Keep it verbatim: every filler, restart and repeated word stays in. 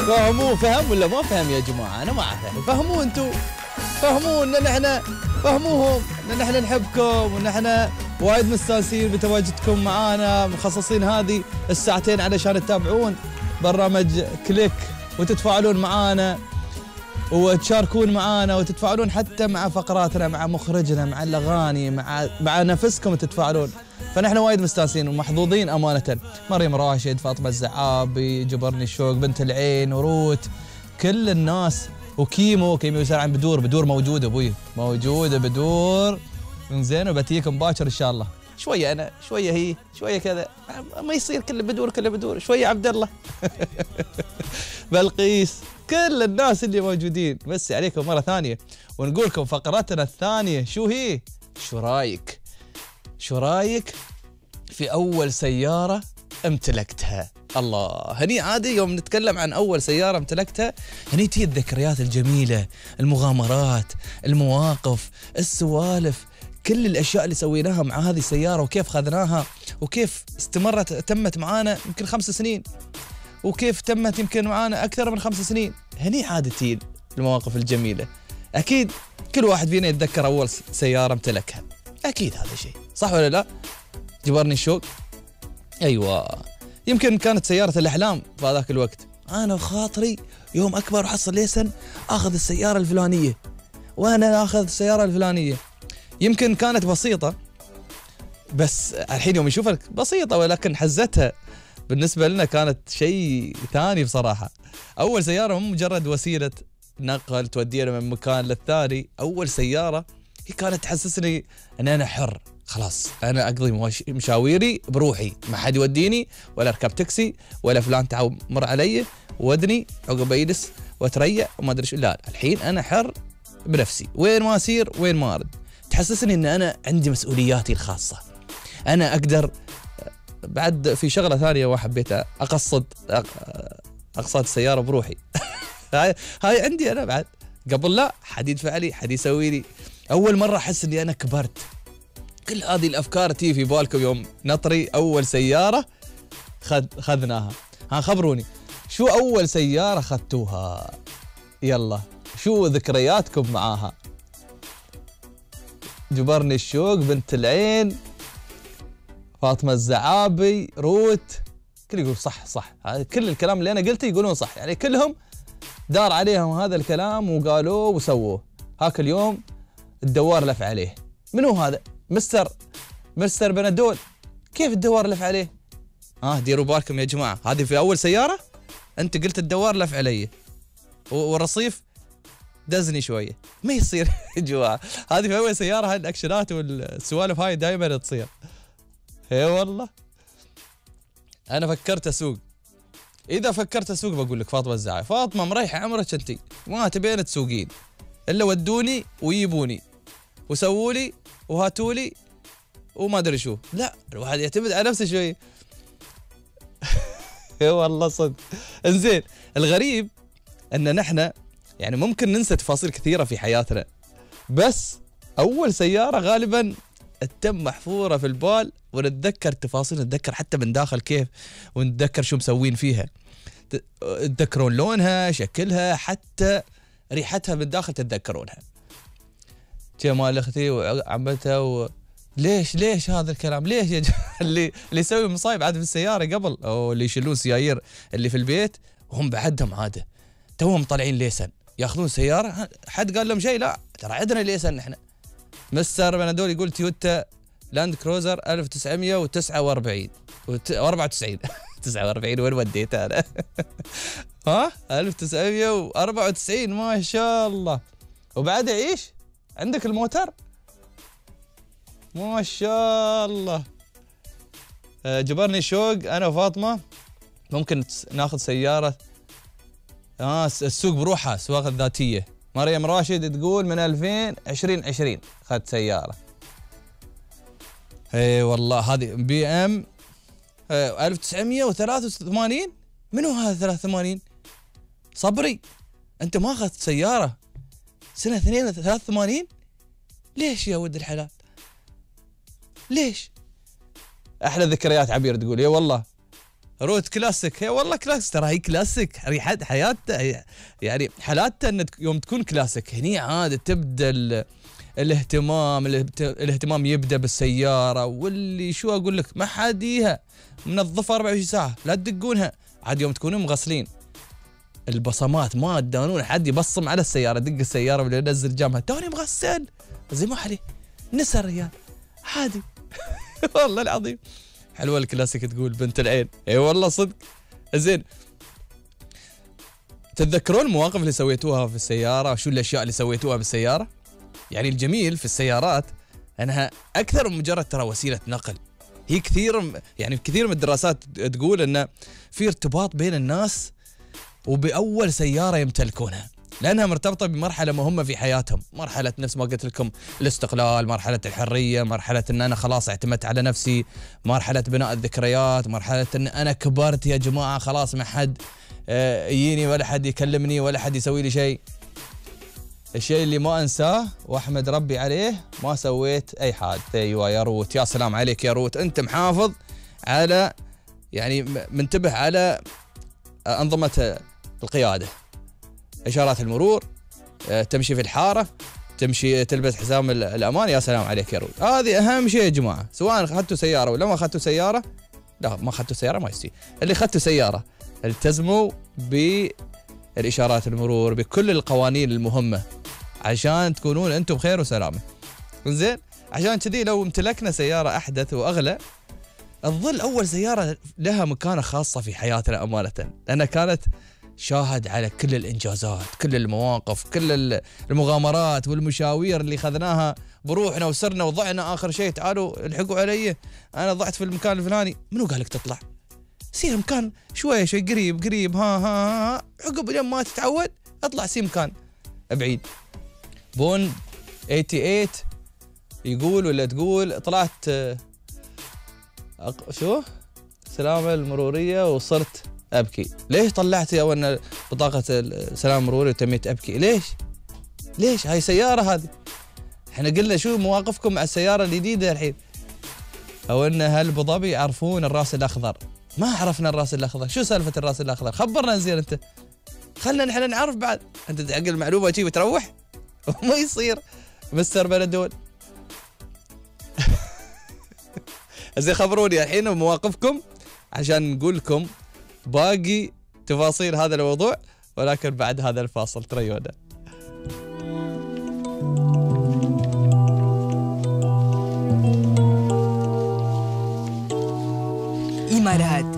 فهموه فهم ولا ما فهم يا جماعه؟ انا ما اعرف. فهموه انتم، فهموه ان احنا فهموهم ان احنا نحبكم وان احنا وايد مستانسين بتواجدكم معانا، مخصصين هذه الساعتين علشان تتابعون برنامج كليك وتتفاعلون معانا وتشاركون معانا وتتفاعلون حتى مع فقراتنا، مع مخرجنا، مع الاغاني، مع مع نفسكم تتفاعلون. فنحن وايد مستانسين ومحظوظين امانه. مريم راشد، فاطمه الزعابي، جبرني الشوق، بنت العين، وروت، كل الناس، وكيمو كيمو يسأل عن بدور. بدور موجوده ابوي، موجوده بدور زين، وبتيكم باكر ان شاء الله. شويه انا، شويه هي، شويه كذا، ما يصير كله بدور كله بدور. شويه عبد الله بلقيس، كل الناس اللي موجودين بس عليكم مره ثانيه. ونقول لكم فقرتنا الثانيه شو هي؟ شو رايك؟ شو رايك في اول سياره امتلكتها؟ الله، هني عادي يوم نتكلم عن اول سياره امتلكتها هني تجي الذكريات الجميله، المغامرات، المواقف، السوالف، كل الاشياء اللي سويناها مع هذه السياره، وكيف خذناها، وكيف استمرت تمت معانا يمكن خمس سنين، وكيف تمت يمكن معانا اكثر من خمس سنين. هني عادتين المواقف الجميله. اكيد كل واحد فينا يتذكر اول سياره امتلكها، اكيد هذا شيء صح ولا لا؟ جبرني الشوق. ايوه، يمكن كانت سياره الاحلام في هذاك الوقت. انا وخاطري يوم اكبر وحصل ليسن اخذ السياره الفلانيه، وانا اخذ السياره الفلانيه. يمكن كانت بسيطه، بس الحين يوم نشوفها بسيطه، ولكن حزتها بالنسبه لنا كانت شيء ثاني بصراحه. اول سياره مو مجرد وسيله نقل تودينا من مكان للثاني، اول سياره هي كانت تحسسني ان انا حر، خلاص انا اقضي مشاويري بروحي، ما حد يوديني ولا اركب تاكسي ولا فلان تعال مر علي ودني عقب يجلس واتريع وما ادري شو. لا، الحين انا حر بنفسي، وين ما اسير وين ما ارد. تحسسني ان انا عندي مسؤولياتي الخاصه، انا اقدر. بعد في شغله ثانيه وحبيتها، اقصد اقصد السياره بروحي هاي هاي عندي انا بعد. قبل لا حد يدفع لي، حد يسوي لي. اول مره احس اني انا كبرت. كل هذه الافكار تيجي في بالكم يوم نطري اول سياره خذ خذناها. ها خبروني شو اول سياره خذتوها؟ يلا شو ذكرياتكم معاها؟ جبرني الشوق، بنت العين، فاطمه الزعابي، روت، كل يقول صح صح. كل الكلام اللي انا قلته يقولون صح، يعني كلهم دار عليهم هذا الكلام وقالوه وسووه. هاك اليوم الدوار لف عليه. منو هذا؟ مستر مستر بنادول. كيف الدوار لف عليه؟ ها آه ديروا بالكم يا جماعه، هذه في اول سياره انت قلت الدوار لف علي والرصيف دزني شويه، ما يصير يا جماعه. هذه في اول سياره، هاي الاكشنات والسوالف هاي دائما تصير. اي والله انا فكرت اسوق. اذا فكرت اسوق بقول لك فاطمه الزعابي، فاطمه مريحه عمرك انتي، ما تبين تسوقين الا ودوني ويجيبوني وسووا لي وهاتوا لي وما ادري شو. لا، الواحد يعتمد على نفسه شوي. اي والله صدق. انزين، الغريب ان نحن يعني ممكن ننسى تفاصيل كثيره في حياتنا، بس اول سياره غالبا تتم محفوره في البال، ونتذكر تفاصيل، نتذكر حتى من داخل كيف، ونتذكر شو مسوين فيها، تتذكرون لونها، شكلها، حتى ريحتها من داخل تتذكرونها. جمال اختي وعمتها و... ليش ليش هذا الكلام؟ ليش يا اللي اللي يسوي مصايب عاد في السياره قبل، او اللي يشيلون سيايير اللي في البيت وهم بعدهم عاده توهم طالعين ليسن ياخذون سياره. حد قال لهم شيء؟ لا، ترى عندنا ليسن احنا. مستر بنادول يقول تويوتا لاند كروزر ألف وتسعمية وتسعة وأربعين وأربعة وتسعين تسعة وأربعين وين وديت انا؟ ها ألف وتسعمية وأربعة وتسعين ما شاء الله. وبعد ايش؟ عندك الموتر؟ ما شاء الله. جبرني شوق، انا وفاطمه ممكن ناخذ سياره اه السوق بروحها، سواقه ذاتيه. مريم راشد تقول من ألفين عشرين عشرين اخذت سياره. اي والله هذه بي ام ألف وتسعمية وثلاثة وثمانين. منو هذا ثلاثة وثمانين؟ صبري، انت ما اخذت سياره سنه اثنين ثلاثة وثمانين؟ ليش يا ولد الحلال؟ ليش؟ احلى ذكريات عبير تقول. اي والله رود كلاسيك. هي والله كلاسيك، ترى هي كلاسيك ريحة حياتها يعني حالاتها ان يوم تكون كلاسيك هني عاد تبدا الاهتمام الاهتمام يبدا بالسياره، واللي شو اقول لك ما حاديها منظفه أربعة وعشرين ساعه، لا تدقونها عاد يوم تكونون مغسلين البصمات ما تدانون حد يبصم على السياره، دق السياره ولا ينزل جامها توني مغسل زي ما عليه نسى الرجال عادي. والله العظيم حلوه الكلاسيك تقول بنت العين. اي والله صدق. زين، تتذكرون المواقف اللي سويتوها في السياره؟ شو الاشياء اللي سويتوها بالسياره؟ يعني الجميل في السيارات انها اكثر من مجرد ترى وسيله نقل، هي كثير يعني كثير من الدراسات تقول ان في ارتباط بين الناس وباول سياره يمتلكونها، لانها مرتبطه بمرحله مهمه في حياتهم، مرحله نفس ما قلت لكم الاستقلال، مرحله الحريه، مرحله ان انا خلاص اعتمدت على نفسي، مرحله بناء الذكريات، مرحله ان انا كبرت يا جماعه خلاص ما حد يجيني ولا حد يكلمني ولا حد يسوي لي شيء. الشيء اللي ما انساه واحمد ربي عليه ما سويت اي حادث. ايوه يا روت، يا سلام عليك يا روت، انت محافظ على يعني منتبه على انظمه القياده، اشارات المرور، تمشي في الحاره، تمشي تلبس حزام الامان، يا سلام عليك يا روت. هذه اهم شيء يا جماعه، سواء اخذتوا سياره ولا ما اخذتوا سياره. لا ما اخذتوا سياره ما يصير، اللي اخذتوا سياره التزموا بالاشارات المرور بكل القوانين المهمه عشان تكونون انتم بخير وسلامه. زين، عشان كذي لو امتلكنا سياره احدث واغلى تظل اول سياره لها مكانه خاصه في حياتنا امانه، لانها كانت شاهد على كل الانجازات، كل المواقف، كل المغامرات والمشاوير اللي اخذناها بروحنا وسرنا وضعنا. اخر شيء تعالوا الحقوا علي انا ضعت في المكان الفلاني، منو قال لك تطلع؟ سير مكان شويه شوي قريب قريب، ها ها ها عقب لين ما تتعود اطلع سي مكان بعيد. بون ثمانية وثمانين يقول ولا تقول طلعت أق... شو السلامه المروريه وصرت ابكي. ليش طلعت يا ون بطاقه السلامه المروريه وتميت ابكي؟ ليش؟ ليش؟ هاي سياره هذه. احنا قلنا شو مواقفكم مع السياره الجديده الحين؟ او ان هل ابو ظبي يعرفون الراس الاخضر؟ ما عرفنا الراس الاخضر، شو سالفه الراس الاخضر؟ خبرنا زين انت، خلنا نحن نعرف بعد. انت تعقل معلومه شي وتروح ما يصير مستر بلدول. زين خبروني الحين مواقفكم عشان نقول لكم باقي تفاصيل هذا الموضوع، ولكن بعد هذا الفاصل تريونا. إمارات